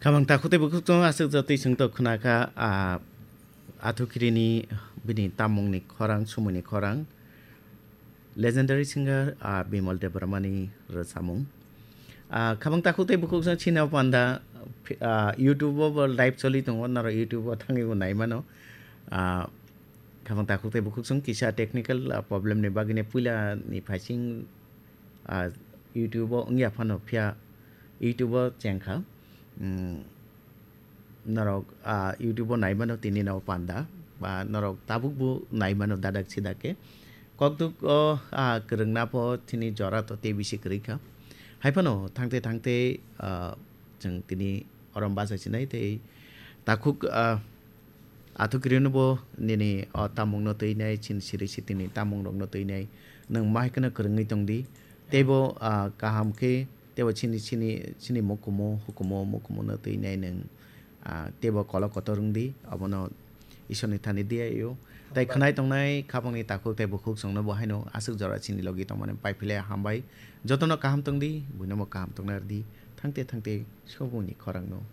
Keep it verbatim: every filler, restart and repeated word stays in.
Khamang takhuk tei bukhuk chwng aswk jotwi chwng tok khna kha, ah, Athukirini bini tamungni khorang, sumuni khorang. Legendary singer, ah, Bimal Debbarmani rwchapmung. Ah, khamang takhuk tei bukhuk chwng chini o panda, ah, YouTube o bo live choli tongo, naro YouTube o thangwi bo nai mano. Ah, khamang takhuk tei bukhuk chwng kisa technical, ah, problem ni bagwi ne puila ni phaising, ah, YouTube o wngya phano phiya YouTube o chengkha. Hmm, norok, ah, YouTube o nai mano tini no panda, ba norok tabuk bo nai mano dadak sidak khe. Kokduk o, ah, kwrwngna pho tini jora to tei bisi kwrwi kha. Hai phano thangte thangte, ah, chwng tini orom bachai sinai tei takhuk, ah, Athukirini bo nini o tamungno twi nai, chini siri sitini tamungrokno twi nai. Nwng ma hai kheno kwrwngwi tong di. Teibo, ah, kaham khe, teibo chini, chini, chini mukumu, hukumu, mukumuno twi nai nwng, ah, teibo kolok kotor wng di. Abono Isorni thani di ayo. Tai khwnai tongnai khabangni takhuk tei bukhuk chwngno bo haino aswk jora chini logi tongmani pai philai hambai. Jotono kaham tong di, buino bo kaham tongna rw di. Thangte thangte soboni khorangno